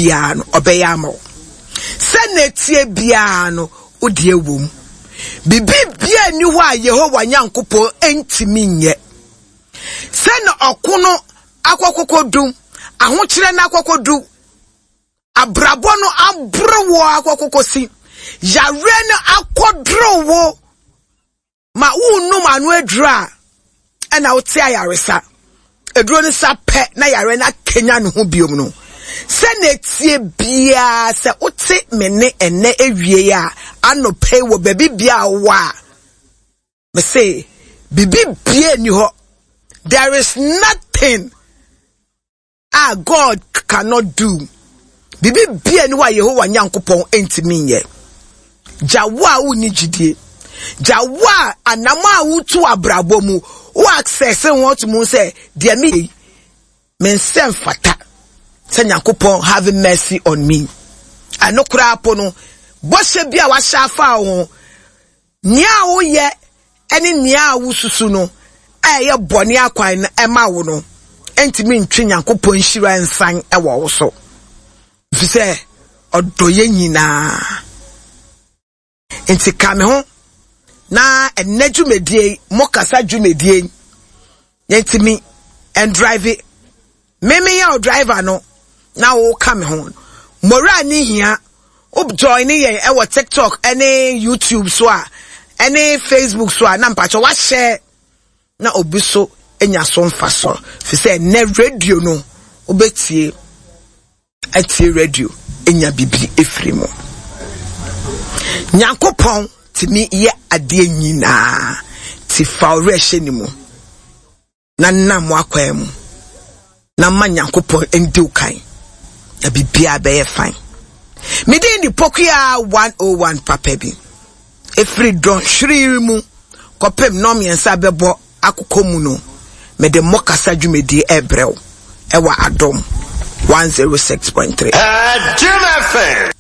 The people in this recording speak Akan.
biara no, ɔbɛyɛ ama wo. Sɛnea ɛteɛ biara no, wo deɛ wom. Biribi biara nni hɔ a Yehowa Nyankopɔn ntumi nyɛ. Sɛnea ɔko no akɔkɔkɔdu, ahokyerɛ no akɔkɔdu, abrabɔ no aboro wo akɔkɔkɔsi, yareɛ no akɔdoro wo, Ma wonnom ano aduro a ɛna wote ayaresa. Aduro no sa pɛ na yare no akanya ne ho biom no. Sɛnea ɛteɛ biara sɛ wote me ne ɛnɛ awie a anɔpa yi wɔ baabi biara wowɔ a, mese biribi biara nni hɔ. There is nothing a God cannot do. Biribi bia ni hɔ a Yehowa Nyankopɔn ntumi nyɛ. Gya wo a wonni gyidie. Gya wo a anam a wotu abrabɔ mu, wo access ho to mu sɛ deɛ meyɛ yi, me nsa mfata sɛ Nyankopɔn have mercy on me. Ɛno koraa po no, bɔhyɛ bi a wahyɛ afa wo ho, Nea woyɛ ne nea wususu no a ɛyɛ bɔne akwan no ma wo no ntumi ntwe Nyankopɔn nhyira nsan wɔ wo so, efisɛ ɔdɔ yɛn nyinaa. Nti ka me ho na ɛnnɛ dwumadie yi, mo kasa dwumadie yi, yɛntumi ndrive. Me meyɛ wo driver no na woka me ho. Mowura ne hia wo join yɛn ɛwɔ TikTok ɛne YouTube so a ɛne Facebook so a na mpakyɛ wahyɛ na obi so anya so mfaso. Fi sɛ ɛnɛ radio no wobɛtie atie radio anya bibi efiri mu. Nyankopɔn tumi yɛ adeɛ nyinaa ti fa wo werɛ hyɛ ne mu. Na nam w'akwan mu, na ma Nyankopɔn ndi wo kan, na biribiara bɛyɛ fine. Me din de Pokuaa 101 papa bi. Ɛfiri dɔnhwere mu kɔpem nnɔnmiɛnsa bɛbɔ akokɔ mu no, mede mo kasa dwumadie ɛrebrɛ wo ɛwɔ Adom 106.3. Adom FM.